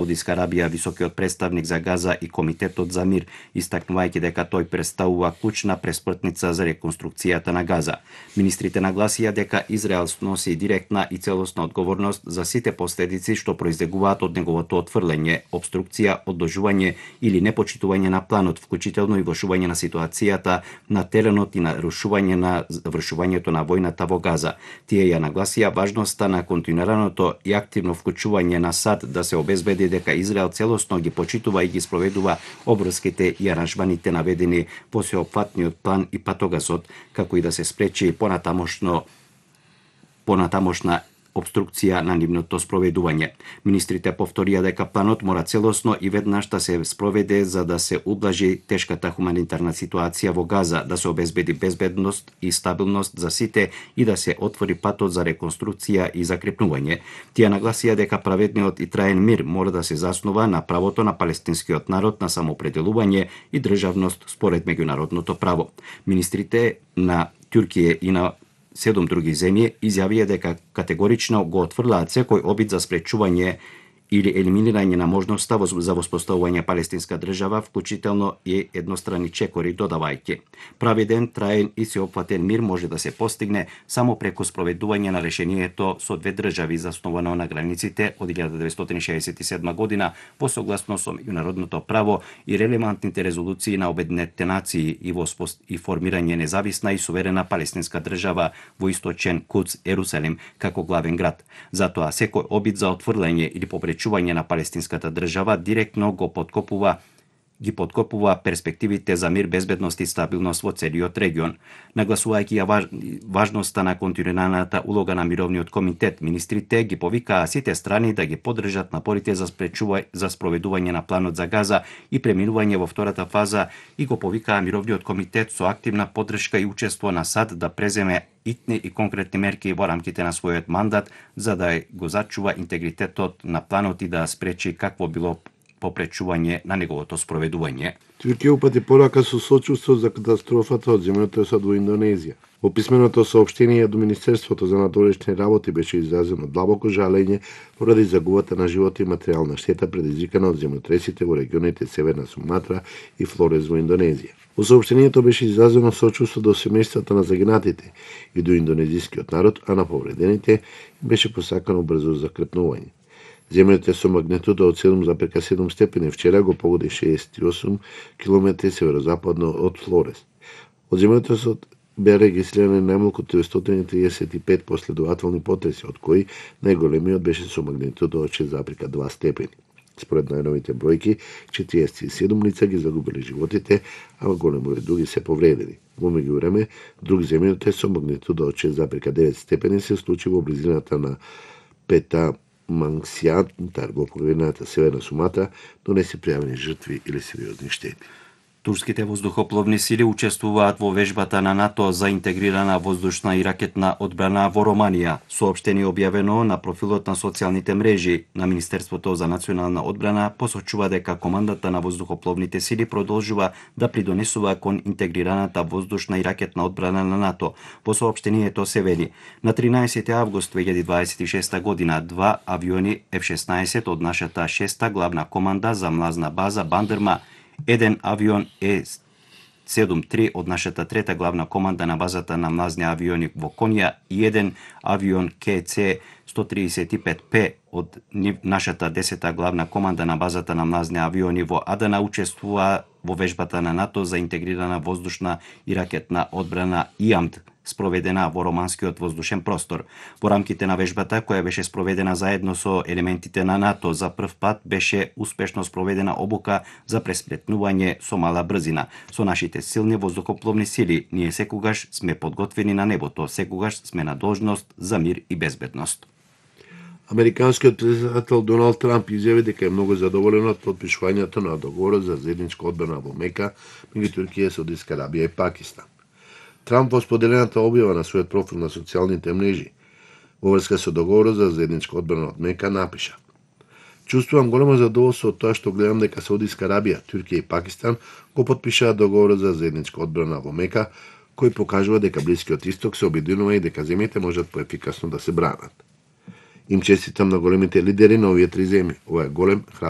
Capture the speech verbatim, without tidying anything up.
Саудиска Арабија, високиот представник за Газа и Комитетот за мир, истакнувајќи дека тој представува клучна преспртница за реконструкцијата на Газа. Министрите нагласија дека Израел носи директна и целосна одговорност за сите последици што произлегуваат од неговото отфрлење, обструкција, одложување или непочитување на планот, вклучително и влошување на ситуацијата на теренот и нарушување на вршувањето на војната во Газа. Тие ја нагласија важноста на континуираното и активно вклучување на САД да се обезбеди дека Израел целосно ги почитува и ги спроведува обврските и аранжманите наведени во сеопфатниот план и патогасот, како и да се спречи понатамошно понатамошна обструкција на нивното спроведување. Министрите повторија дека планот мора целосно и веднаш да се спроведе за да се ублажи тешката хуманитарна ситуација во Газа, да се обезбеди безбедност и стабилност за сите и да се отвори патот за реконструкција и закрепнување. Тие нагласија дека праведниот и траен мир мора да се заснува на правото на палестинскиот народ на самоопределување и државност според меѓународното право. Министрите на Туркија и на седум други земји изјавија дека категорично го отфрлаат секој обид за спречување или елиминирање на можноста за воспоставување палестинска држава, вклучително и еднострани чекори, додавајќи. Праведен, траен и сеопфатен мир може да се постигне само преку спроведување на решението со две држави заснувано на границите од илјада деветстотини шеесет и седма година по согласно со меѓународното право и релевантните резолуции на Обединетите нации и во и формирање независна и суверена палестинска држава во источен Кудс, Ерусалим, како главен град. Затоа секој обид за отфрлање или попречување на палестинската држава директно го подкопува ги подкопува перспективите за мир, безбедност и стабилност во целиот регион. Нагласувајќи ја важ, важноста на континуираната улога на мировниот комитет, министрите ги повикаа сите страни да ги поддржат напорите за спречување за спроведување на планот за Газа и преминување во втората фаза и го повикаа мировниот комитет со активна поддршка и учество на САД да преземе итни и конкретни мерки во рамките на својот мандат за да го зачува интегритетот на планот и да спречи какво било попречување на неговото спроведување. Туркија упати порака со сочувство за катастрофата од земјотресот во Индонезија. Во писменото соопштение до Министерството за надворешни работи беше изразено длабоко жалење поради загубата на живот и материјална штета предизвикана од земјотресите во регионите Северна Суматра и Флорес во Индонезија. Во соопштението беше изразено сочувство до семејствата на загинатите и до индонезискиот народ, а на повредените беше посакано брзо закрепнување. Земјотрес со магнитуда од седум зарез и седум степени вчера го погоди шеесет и осум километри северозападно од Флорес. Од земјотресот беа регистрирани најмалку триестотини триесет и пет последователни потреси, од кои најголемиот беше со магнитуда од шест зарез и два степени. Според најновите бројки, четириесет и седум лица ги загубили животите, а голем број други се повредени. Во меѓувреме, друг земјотрес со магнитуда од шест зарез и девет степени се случи во близината на Пета Мангсијантар во половината Северна Суматра, но не се пријавени жртви или сериозни штети. Турските воздухопловни сили учествуваат во вежбата на НАТО за интегрирана воздушна и ракетна одбрана во Романија. Соопштение објавено на профилот на социјалните мрежи на Министерството за национална одбрана посочува дека командата на воздухопловните сили продолжува да придонесува кон интегрираната воздушна и ракетна одбрана на НАТО. Во соопштението се вели: на тринаесети август две илјади дваесет и шеста година два авиони Ф шеснаесет од нашата шеста главна команда за млазна база Бандерма, еден авион Е седум три од нашата трета главна команда на базата на млазни авиони во Конја и еден авион К С сто триесет и пет П од нашата десета главна команда на базата на млазни авиони во Адана учествува во вежбата на НАТО за интегрирана воздушна и ракетна одбрана И А М Д, спроведена во романскиот воздушен простор. Во рамките на вежбата, која беше спроведена заедно со елементите на НАТО, за прв пат беше успешно спроведена обука за преспретнување со мала брзина. Со нашите силни воздухопловни сили, ние секогаш сме подготвени на небото, секогаш сме на должност за мир и безбедност. Американскиот председател Доналд Трамп изјави дека е многу задоволен од потпишувањето на договорот за заедничка одбрана во Мека меѓу Туркија, Саудиска Арабија и Пакистан. Трамп во споделената објава на својот профил на социјалните мрежи во врска со договорот за заедничка одбрана од Мека напиша: "Чувствувам големо задоволство од тоа што гледам дека Саудиска Арабија, Туркија и Пакистан го потпишаа договорот за заедничка одбрана во Мека, кој покажува дека Блискиот Исток се обединува и дека земјите можат поефикасно да се бранат." Им честитам на големите лидери на овие три земји. Ова е голем, храбар